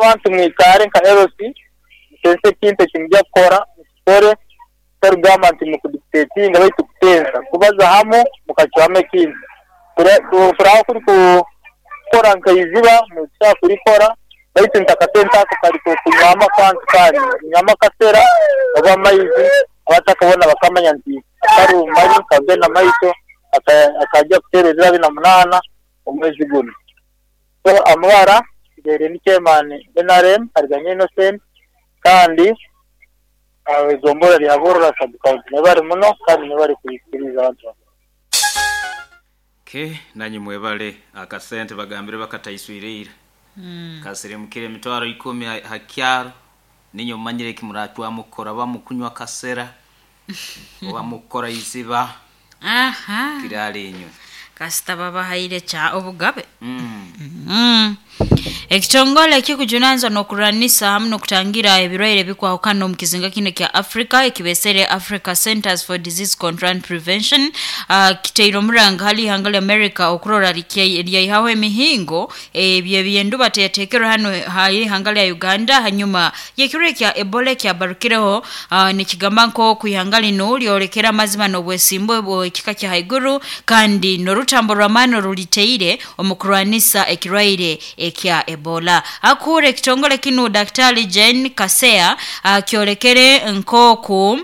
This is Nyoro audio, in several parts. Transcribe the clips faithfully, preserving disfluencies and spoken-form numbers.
Abantu mwikare nka L C, mutense ekintu ekimujya kukora, mukikore, tarugamba nti mukudictatinga, baitu kutensa, kubaza hamu mukacwamu ekintu. Turaho kuri kukora nkaiziba mukushaka kurikora, baitu ntakasente ako kari kunywamu akantu kanyu, kunywamu akasera oba amaizi, abatakabona bakamanya nti karumari kagenda maiso akajja kuteera ebiro abiri na munaana omwezi guno. So amabara nsigaire ndi chairman N R M Ariganya Innocent, kandi egombolola lya Burora sub county. Mwebale muno kandi mwebale kuikiriza abantu. Ke nanyi mwebale. Akasente bagambire bakataiswirire mm. Kasirimukire emitwaro ikumi hakyaro, ninyo mumanyire kimuracwamu kukora, bamukunywa kasera oba mukukora iziba. Aha. Kirali inywe. Kasita babahaire kya obugabe. mm. Mm. Ekitongole ekikujunanizwa n'okurwanisa hamu n'okutangira ebirwaire ebikwahukana omu kizinga kino kya Africa, ekibesere Africa Centers for Disease Control and Prevention, uh, kiteire omuranga hali ihanga lya America okurora lyaihaho emihingo ebyo ebyenduba teyatekerwe hano hali ihanga lya Uganda hanyuma y'ekirwaire kya Ebola ekyabarukireho. uh, nikigamba nk'oku ihanga lino lyolekera amazima n'obwesimbu bw'ekika kya haiguru kandi n'orutambo rw'amaani oruliteire omu kurwanisa ekirwaire ekya Ebola. Akuura ekitongole kinu, Daktari Jane Kasea, akyolekere nk'oku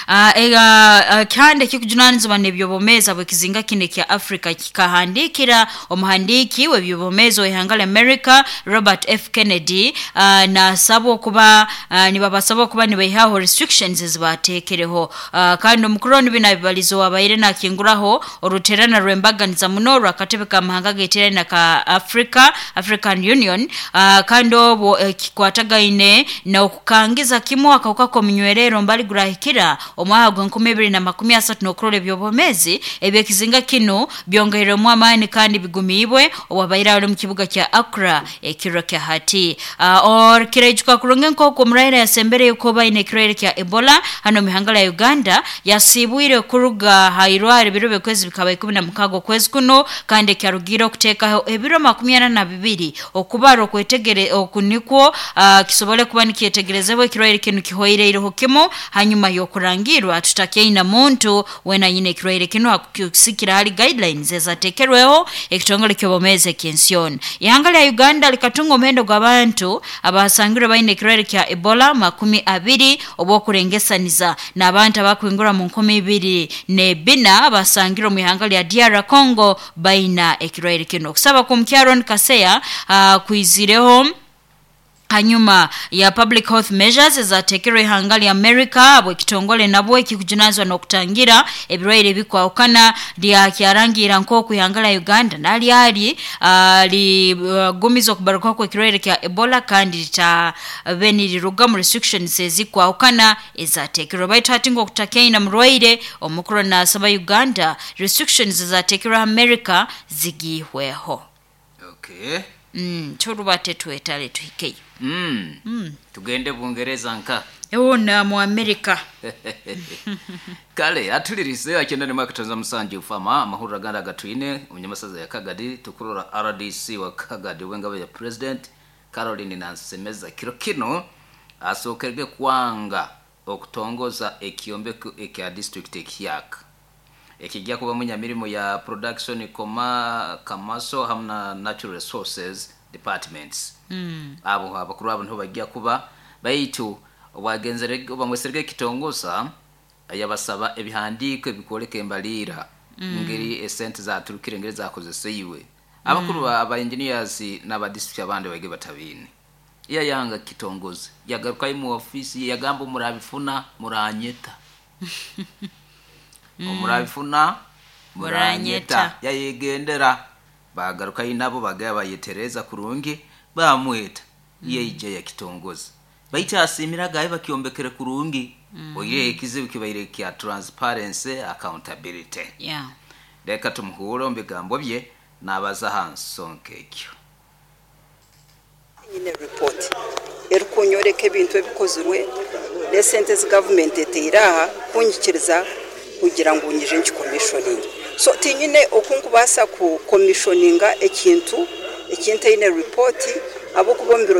Uh, ega uh, kandi ekikujunanizibwa n'ebyobomezi bw'ekizinga kino ekya Africa kikahandikira omuhandiiki w'ebyobomezi w'ihanga lya America, Robert F Kennedy, uh, nasaba okuba uh, nibabasaba okuba nibaihaho restrictions ezibateekereho. uh, kandi omukuru onu bino abibalizo wabaire nakinguraho oruterana rw'embaganiza muno rw'akatebe k'amahanga geterane ka Africa, African Union, uh, kandi obwo ekikwatagaine n'okukangiza kimu akawuka k'omunywerero mbali gurahikira omwaka gwa enkumi ibiri na makumi asatu n'okurora ebyobomezi ebyekizinga kino byongeirwemu amaani kandi bigumiibwe, owabaire ali omu kibuga kya Accra ekiro kya hati. uh, kiraijuka kurungi nk'oku omurwaire yasembereyo kuba aine ekirwaire kya Ebola hano omu ihanga lya Uganda yasiibwire kuruga ha irwaro ebiro by'okwezi bikaba ikumi na mukaaga okwezi kuno, kandi ekyarugire okuteekaho ebiro makumi ana na bibiri okubara okwetegere oku nikwo uh, kisobole kuba nikyetegerezebwa ekirwaire kinu kihoireireho kimu hanyuma y'okurangirwa tutakyaina muntu wena anyine ekirwaire kinu, hakusikira hali guidelines ezatekerweho ekitongole ky'obwomeezi eky'ensi yoona. Ihanga lya Uganda likatunga omuhendo gw'abantu abasangirwe baine ekirwaire kya Ebola makumi abiri, obw'okurengesaniza n'abantu abakwingura mu nkumi ibiri n'ebina basangirwe omu ihanga lya D R Congo baina ekirwaire kino. Okusaba kw'omukyaron Kaseya uh, kwizireho hanyuma ya public health measures ezatekerwe ihanga lya America, bwekitongole nabwo ekikujunanizwa n'okutangira ebirwaire ebikwahukana lyakyarangira nk'oku ihanga lya Uganda nalyali uh, ligumiza uh, okubarukaho kw'ekirwaire kya Ebola kandi litabe niriruga mu restrictions ezikwahukana ezatekerwe. Baitu hati nk'okutakyaina murwaire, omukuru nasaba Uganda restrictions ezatekerwe America zigihweho. Okay. mm, turubate twetale tuhikeyo. mm. Mm. Tugende Bungereza nka ewona mu America. Kale atulirise akyenda ne mwakatonza musanju fama amahurira ganda gatwine omunyamasaza ya Kagadi. Tukurora R D C wa Kagadi wengabo ya President Caroline Nansemeza kiro kino asookerwe kwanga okutongoza ekyombeko ekya district ekiyaka ekijja kuba munyamirimo ya production koma kamaso hamu na natural resources departments. mm. Abo abakuru abo niho bajja kuba, baitu obwagenzere bamweserege kitongoza yabasaba ebihandiiko ebikwoleka embaliira, mm. ngeri esente zaturukire, ngeri zakozeseiwe. Abakuru mm. aba engineers n'aba district abandi bage batabiine, yayanga kitongoze, yagarukayo mu ofisi yagamba, "Murabifuna muranyeta, omurabifuna muranyeta." Yayegendera, bagarukayo nabo bagaya bayetereza kurungi, bamweta, yeija yakitongoza, baitu asimira gaye bakyombekere kurungi. mm. Oire ekizibu kibaire kya transparency, accountability. yeah. Reka tumuhure omu bigambo bye nabaza ha nsonga ekyo. Nyine report erikunyoreka ebintu ebikozirwe n'esente ezi gavumenti eteire aha kunyikiriza kugira ngu nyije nkicommissioninge. So tinyine oku nkubaasa kucommissioninga ekintu ekintaine report, ahabw'okuba omu biro